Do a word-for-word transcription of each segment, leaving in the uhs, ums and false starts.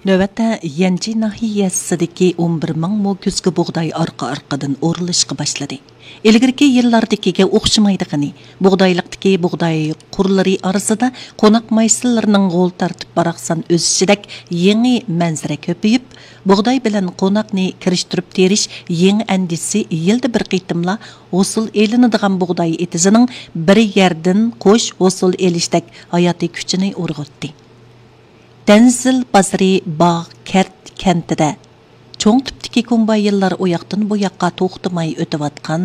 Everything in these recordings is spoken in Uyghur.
نۆۋەتتە يەنجى ناھىيەسىدىكى ئون بىر مىڭ مو كۈزگى بۇغداي ئارقا-ئارقىدىن ئورۇلۇشقا باشلىدى. ئىلگىرىكى يىللاردىكىگە ئوخشىمايدىغىنى، بۇغدايلىقتىكى بۇغداي قۇرلىرى ئارىسىدا قوناق مايسىلىرىنىڭ غول تارتىپ باراقسان ئۆسۈشىدەك يېڭى مەنزىرە كۆپىيىپ، بۇغداي بىلەن قوناقنى كىرىشتۈرۈپ تېرىش يېڭى ئەندىزىسى يىلدا بىر قېتىملا ھوسۇل ئېلىنىدىغان بۇغداي ئېتىزىنىڭ بىر يەردىن قوش ھوسۇل ئېلىشتەك ھاياتىي كۈچىنى ئۇرغۇتتى. دەنزىل بازىرى باغ كەرت كەنتىدە چوڭ تىپتىكى كومباينلار ئۇياقتىن بۇياققا توختىماي ئۆتۈۋاتقان،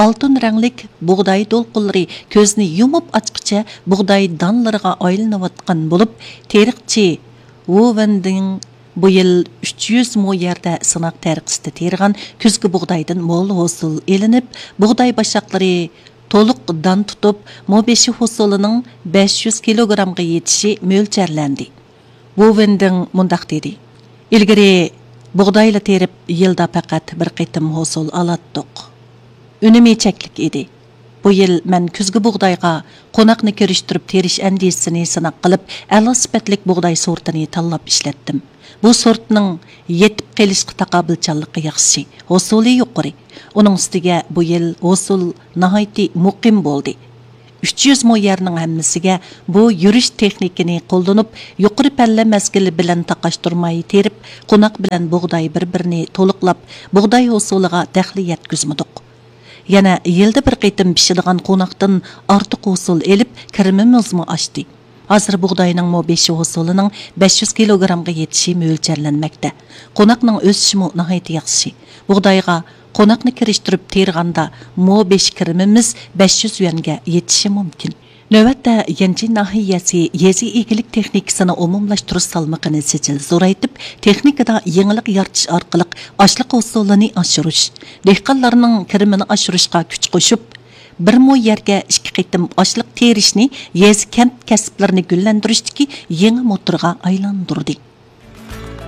ئالتۇن رەڭلىك بۇغداي دولقۇنلىرى كۆزنى يۇمۇپ ئاچقۇچە بۇغداي دانلىرىغا ئايلىنىۋاتقان بولۇپ، تېرىقچى ۋۇ ۋېندىڭ بۇ يىل ئۈچ يۈز مو يەردە سىناق تەرىقىسىدە تېرىغان كۈزگى بۇغدايدىن مول ھوسۇل ئېلىنىپ، بۇغداي باشاقلىرى تولۇق دان تۇتۇپ، مو بېشى ھوسۇلىنىڭ بەش يۈز كىلوگرامغا يېتىشى مۆلچەرلەندى. ۋۇ ۋېندىڭ مۇنداق دېدى: «ئىلگىرى بۇغدايلا تېرىپ، يىلدا پەقەت بىر قېتىم ھوسۇل ئالاتتۇق. ئۈنۈمى چەكلىك ئىدى. بۇ يىل مەن كۈزگى بۇغدايغا قوناقنى كىرىشتۈرۈپ تېرىش ئەندىزىسىنى سىناق قىلىپ، ئەلا سۈپەتلىك بۇغداي سورتىنى تاللاپ ئىشلەتتىم. بۇ سورتنىڭ يېتىپ قېلىشقا تاقابىلچانلىقى ياخشى، ھوسۇلى يۇقىرى. ئۇنىڭ ئۈستىگە بۇ يىل ھوسۇل ناھايىتى مۇقىم بولدى. ئۈچ يۈز مو يەرنىڭ ھەممىسىگە بۇ يۈرۈش تېخنىكىنى قوللىنىپ، يۇقىرى پەللە مەزگىلى بىلەن تاقاشتۇرماي تېرىپ، قوناق بىلەن بۇغداي بىر-بىرىنى تولۇقلاپ، بۇغداي ھوسۇلىغا دەخلى يەتكۈزمىدۇق. يەنە يىلدا بىر قېتىم پىشىدىغان قوناقتىن ئارتۇق ھوسۇل ئېلىپ، كىرىمىمىزمۇ ئاشتى. ھازىر بۇغداينىڭ مو بېشى ھوسۇلىنىڭ بەش يۈز كىلوگرامغا يېتىشى مۆلچەرلەنمەكتە. قوناقنىڭ ئۆسۈشىمۇ ناھايىتى ياخشى. بۇغدايغا قوناقنى كىرىشتۈرۈپ تېرىغاندا، مو بېشى كىرىمىمىز بەش يۈز يۈەنگە يېتىشى مۇمكىن.» نۆۋەتتە يەنجى ناھىيەسى يېزا ئىگىلىك تېخنىكىسىنى ئومۇملاشتۇرۇش سالمىقىنى سىجىل زورايتىپ، تېخنىكىدا يېڭىلىق يارىتىش ئارقىلىق ئاشلىق ھوسۇلىنى ئاشۇرۇش، دېھقانلارنىڭ كىرىمىنى ئاشۇرۇشقا كۈچ قوشۇپ، بىر مو يەرگە ئىككى قېتىم ئاشلىق تېرىشنى يېزا، كەنت كەسىپلىرىنى گۈللەندۈرۈشتىكى يېڭى موتورغا ئايلاندۇردى.